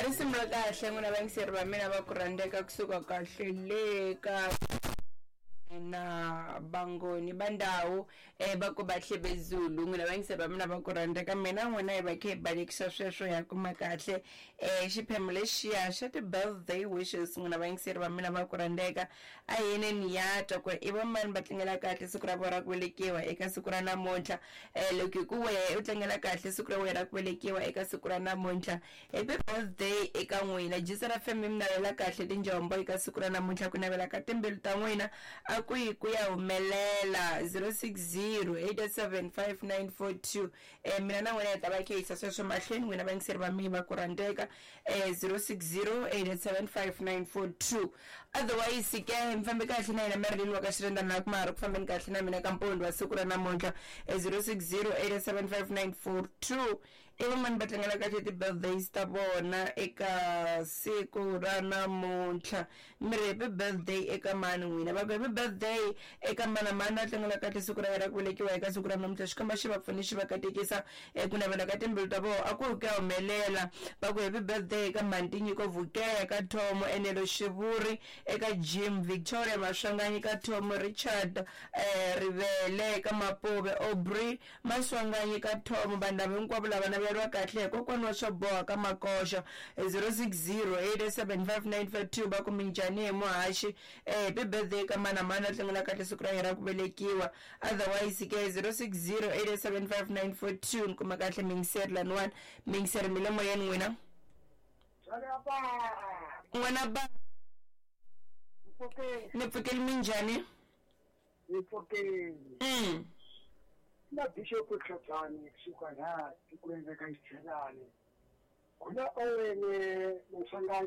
Risimu ra kahle n'wina vayingiseri va mina va ku rhandzeka kusuka kahle le ka na Vangoni va ndhawu va ku Bahle Bezulu. N'wina vayingiseri va mina va ku rhandzeka, mina n'wina hi va khe hi balekisa sweswo ya kuma kahle xiphemu lexiya xa ti-birthday wishes. N'wina vayingiseri va mina va ku rhandzeka, a hi yeneni ya twa ku i va mani va tlangela kahle siku ra vona ra ku velekiwa eka siku ra namuntlha. Loko hi ku wehe u tlangela kahle siku ra wena ra ku velekiwa eka siku ra namuntlha, happy birthday eka n'wina. Jisara FM yi mi navela kahle tinjombo eka siku ra namuntlha, ku navela ka timbilu ta n'wina a ku yi ku ya humelela. 0608875942. Mina na n'wina hi ta va khe yisa sweswo mahlweni, n'wina vayingiseri va mina va ku rhandzeka. 0608875942. Otherwise ke mi fambe kahle na yena Marilyn wa ka Xirendana la kuma ha ri ku fambeni kahle na mina ka mpondo wa siku ra namuntlha. 0608875942. I vamani va tlangela kahle ti-birthdays ta vona eka siku ra namuntlha? Mi ri happy birthday eka mani n'wina? Va ku happy birthday eka mani na mani a tlangela kahle siku ra yena ra ku velekiwa eka siku ra namuntlha. Xikwembu xi va pfune xi va katekisa ku navela ka timbilu ta vona a ku ri ku ya humelela. Va ku happy birthday eka mhani Tinyiko Vukeya ka Thomo, Enelo Xivuri eka Jim, Victoria Maswanganyi ka Thomo, Richard Rivele ka Mapuve, Aubrey Maswanganyi ka Thomo. Vanhu lava hinkwavo lava naveriwa kahle hi kokwana wa swo boha ka Makoxa. 0608755952. Va ku minjhani hi muhaxi? Happy birthday ka mani na mani a tlangela kahle siku ra yena ra ku velekiwa. Otherwise ke 0608755942. Ni kuma kahle miyingiseri laniwani, miyingiseri mi le moyeni n'wina. N'wana ba ni pfukeli, minjhani? Ni pfukeli. Na Bishop Tlhagani kusuka laha tikweni ra ka Xichelani. Ku na Owen Maswanganyi.